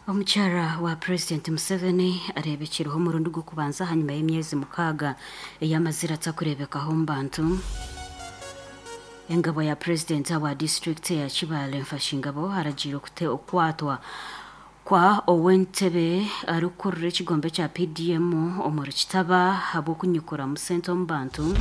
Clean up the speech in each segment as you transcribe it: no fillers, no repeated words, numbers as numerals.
Omukyara wa Purezidenti Museveni areebekireho omurundi gw'okubanza ahanyima y'emyezi 6 ei amazire atakureebekaho omu bantu. Engabo ya Purezidenti ahabwa disiturikiti eya Kibaale Nfashingabo aragiire okukwatwa kwa ow'entebe arikukurira ekigombe kya PDM omuri Kitaba ahabw'okunyikuramu sente omu bantu.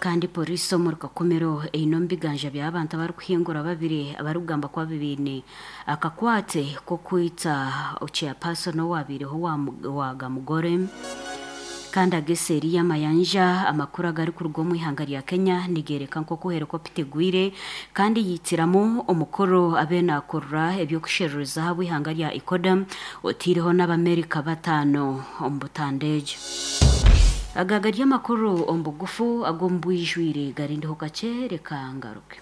Kandi Poriisi omuri Kakumiro eine omu biganja by'abantu abarikuhingura babiri abarikugamba ku baine akakwate k'okwita Chairperson owabaireho owa Gamugore. Kandi aga eseeri y'amayanja, amakuru agarikuruga omu ihanga rya Kenya nigeereka nk'oku helikopita egwire kandi yaitiramu omukuru abaire naakurura eby'okusheruriza ahabw'eihanga rya Ecuador otaireho n'Abamerika bataano omu butanda egyo. Aga gari amakuru omu bugufu ag'omu bwijwire garindeho kakye reka ngaruke.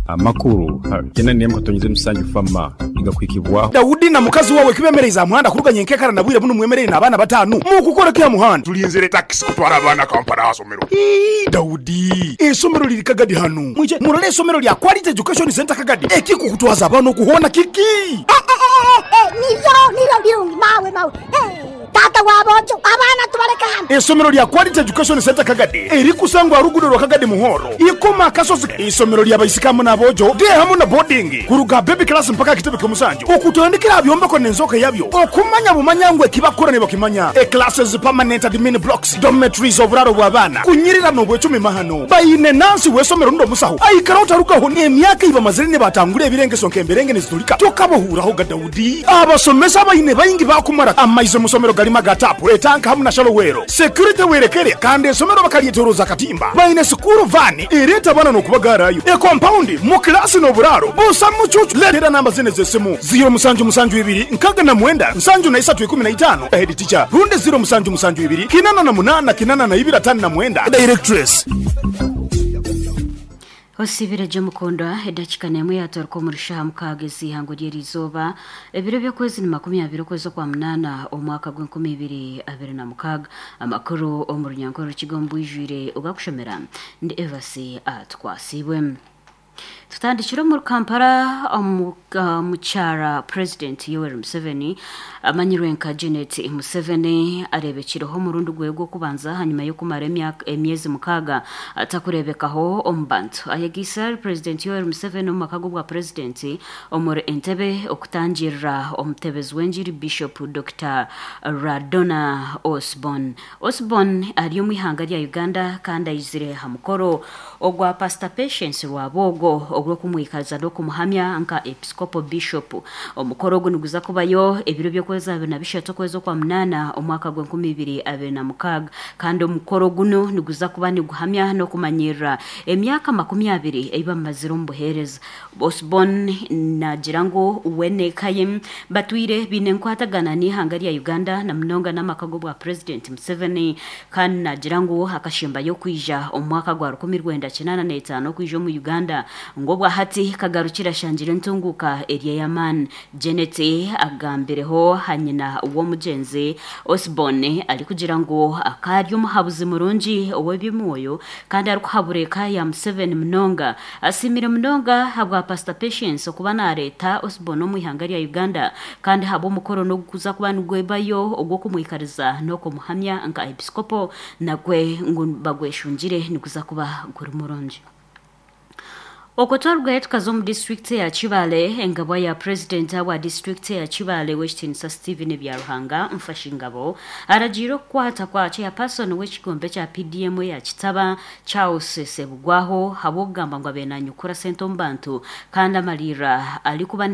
Amakuru kyenda n'emwe katonyeze musanju fama nigakuhikibwaho. Daudi na mukazi wawe kibemereize aha muhanda kuruga nyenkekara na bwire bunu mwemereire n'abaana bataanu? Mukukora ki aha muhanda? Tulinzire takisi kutwara abaana Kampala aha somero. Ii, Daudi, eisomero liri Kagadi hanu. Mwije murole eisomero lya Quality Education Centre Kagadi. Ekikukutwaza abaana oku hoona kiki? Niryo, niryo birungi mawe, mawe. Taata wa boojo, abaana tubaleke hano. Eisomero lya Quality Education Centre Kagadi erikusangwa aha luguudo rwa Kagadi Muhoro, Ikoma Akasozi. Eisomero lya baisiki hamu n'aboojo, day hamu na boarding, kuruga baby class mpaka aha kitebe ky'omusanju, okutandikira aha byombeko n'enzooka yabyo, okumanya bumanya ngu eki bakukora nibakimanya, e classes, permanent admin blocks, dormitories, oburaaro bw'abaana, kunyirira n'obwecumi mahano. Baine nansi w'eisomero rundi omusaho aikara otarugaho n'emyaka ei bamazire nibatangura ebirengeso nk'emberenge nizitulika tokabahuuraho ga Daudi. Abasomesa abaine baingi baakumara amaizi omu somero garimu aga taapu, etanka hamu na shallow well. Security werekere kandi esomero bakaryetoroza akatimba. Baine sikuuru vaani ereeta abaana n'okubagaarayo. Ekompaundi mu kilaasi n'oburaaro busa mucuucu. Leetera namba zinu ez'esimu, ziiro musanju musanju ibiri 69 73 15, Head teacher, rundi ziiro musanju musanju ibiri 88 82 59, Directress. Osiibire gye mukundwa, edakika n'emwe yaatoroka omuri shaaha 6 ez'eihangwe ry'eriizooba, ebiro by'okwezi ni 20 okwezi okwa munaana omwaka gw'enkumi ibiri abiri na mukaaga. Amakuru omu runyankore orukiga omu bwijwire ogakushomera ndi Evasi Atwasiibwe. Tutandikire omuri Kampala omukyara Purezidenti Yoweri Museveni amanyirwe nka Janet Museveni areebekireho omurundi gwe gw'okubanza ahanyima y'okumara emyezi 6 atakureebekaho omu bantu. Ayegaitsire ahari Purezidenti Yoweri Museveni omu maka g'obwa Purezidenti omuri Entebbe okutangirira omutebezi w'engiri Bishop Dokita Radona Osborn. Osborn ari omu ihanga rya Uganda kandi aizire aha mukoro ogwa Pasita Patience Rwabwogo ogw'okumwikaza n'okumuhamya nka Episcopal Bishop. Omukoro ogu niguza kubayo ebiro by'okwezi 23 okwezi okwa munaana omwaka gw'e2026 kandi omukoro gunu niguza kuba niguhamya n'okumanyirira emyaka 20 ei bamazire omu buheereza. Osborn naagira ngu we n'eka ye batwire baine enkwatagana n'eihanga rya Uganda na munonga n'amaka g'obwa Purezidenti Museveni kandi naagira ngu akashembayo kwija omu mwaka gwa 1985 okwija omu Uganda ngu obwa hati kagarukire ashangire entunguuka eri ey'amaani. Janet agambireho aha nyina w'omugyenzi Osborn arikugira ngu akaba ari omuhabuzi murungi ow'eby'omwoyo kandi arikuhabura eka ya Museveni munonga. Asiimire munonga ahabwa Pasita Patience okuba naareeta Osborn omu ihanga rya Uganda kandi ahabw'omukoro n'ogukuza kuba nigwebayo ogw'okumwikariza n'okumuhamya nka Episikopo nagwe ngu bagweshungire niguza kuba guri murungi. Okwo twarugayo tukaza omu disiturikiti eya Kibaale, engabwa ya Purezidenti ahabwa disiturikiti eya Kibaale Ow'ekitiinisa Stephen Byaruhanga Mfashingabo aragiire okukwata kwa Chairperson w'ekigombe kya PDM eya Kitaba Charles Ssebugwaho ahabw'okugamba ngu abaire nanyukura sente omu bantu kandi amariirira arikuba.